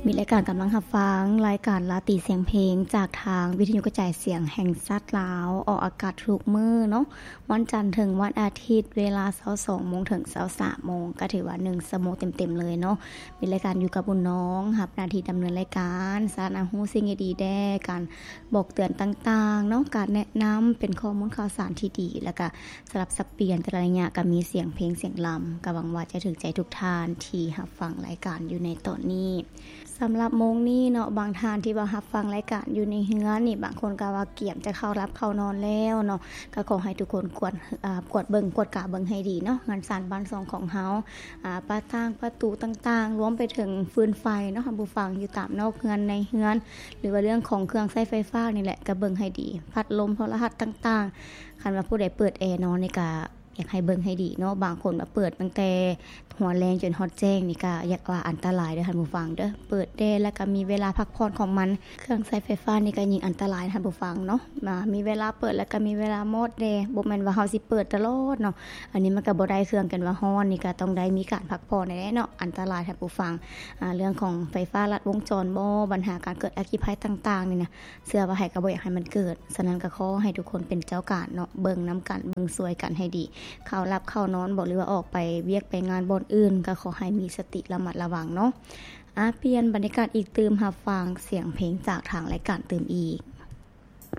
ມີລາຍການກຳລັງຮັບຟັງ ລາຍການລາຕີສຽງເພງ ຈາກທາງວິທະຍຸກະຈາຍສຽງແຫ່ງຊາດລາວ ອອກອາກາດທຸກມື້ເນາະ, ວັນຈັນເຖິງວັນອາທິດ ເວລາຊາວສອງໂມງເຖິງຊາວສາມໂມງ, ກໍຖືວ່າໜຶ່ງຊົ່ວໂມງເຕັມໆເລີຍເນາະ. ມີລາຍການຢູ່ກັບບຸນນ້ອງ ຮັບໜ້າທີ່ດຳເນີນລາຍການ, ສານຫາຮູ້ສິ່ງດີໆແດ່, ການບອກເຕືອນຕ່າງໆເນາະ, ການແນະນຳ ເປັນຂໍ້ມູນຂ່າວສານທີ່ດີ, ແລ້ວກະ ສະຫຼັບສັບປ່ຽນແຕ່ລະໄລຍະກໍມີສຽງເພງສຽງລຳ, ກໍຫວັງວ່າຈະຖືກໃຈທຸກທ່ານທີ່ຮັບຟັງລາຍການຢູ່ໃນຕອນນີ້. ສຳລັບໂມງນີ້ເນາະ, ບາງທ່ານທີ່ວ່າຮັບຟັງລາຍການຢູ່ໃນເຮືອນນີ້, ບາງຄົນກໍວ່າກຽມຈະເຂົ້າຫຼັບເຂົ້ານອນແລ້ວເນາະ, ກໍຂໍໃຫ້ທຸກຄົນກວດ ອາ ກວດເບິ່ງ ກວດກາເບິ່ງໃຫ້ດີເນາະ, ເຮືອນຊານບ້ານຊ່ອງຂອງເຮົາ, ອາ ປະຕ່າງປະຕູຕ່າງໆ, ລວມໄປເຖິງຟືນໄຟເນາະ, ທ່ານຜູ້ຟັງ, ຢູ່ຕາມນອກເຮືອນໃນເຮືອນ ຫຼືວ່າເລື່ອງຂອງເຄື່ອງໃຊ້ໄຟຟ້ານີ້ແຫຼະ, ກໍເບິ່ງໃຫ້ດີ, ພັດລົມ ໂທລະທັດຕ່າງໆ. ຄັນວ່າຜູ້ໃດເປີດແອນອນນີ້ກະ ຢາກໃຫ້ເບິ່ງໃຫ້ດີເນາະ, ບາງຄົນວ່າເປີດຕັ້ງແຕ່ຫົວແລງຈົນຮອດແຈ້ງນີ້ກະຢາກວ່າອັນຕະລາຍເດີທ່ານຜູ້ຟັງເດີ. ເປີດແດ່ແລ້ວກະມີເວລາພັກຜ່ອນຂອງມັນ, ເຄື່ອງໃຊ້ໄຟຟ້ານີ້ກະຍິ່ງອັນຕະລາຍທ່ານຜູ້ຟັງເນາະ. ມາມີເວລາເປີດແລ້ວກະມີເວລາມອດແດ່, ບໍ່ແມ່ນວ່າເຮົາຊິເປີດຕະຫຼອດເນາະ, ອັນນີ້ມັນກະບໍ່ໄດ້ເຄື່ອງກັນວ່າຮ້ອນ, ນີ້ກະຕ້ອງໄດ້ມີການພັກຜ່ອນແດ່ເນາະ. ອັນຕະລາຍທ່ານຜູ້ຟັງ, ອາ ເລື່ອງຂອງໄຟຟ້າລັດວົງຈອນບໍ, ບັນຫາການເກີດອັກຄີໄພຕ່າງໆນີ້ນະ, ເຊື່ອວ່າໃຜກໍບໍ່ຢາກໃຫ້ມັນເກີດ, ສະນັ້ນກໍຂໍໃຫ້ທຸກຄົນເປັນເຈົ້າການເນາະ, ເບິ່ງນຳກັນ, ເບິ່ງຊ່ວຍກັນໃຫ້ດີ. ເຂົ້າຫຼັບເຂົ້ານອນບໍ ຫຼືວ່າອອກໄປວຽກໄປງານບ່ອນອື່ນ, ກໍຂໍໃຫ້ມີສະຕິລະມັດລະວັງເນາະ. ອາ ປ່ຽນບັນຍາກາດອີກຕື່ມ, ຮັບຟັງສຽງເພງຈາກທາງລາຍການຕື່ມອີກ.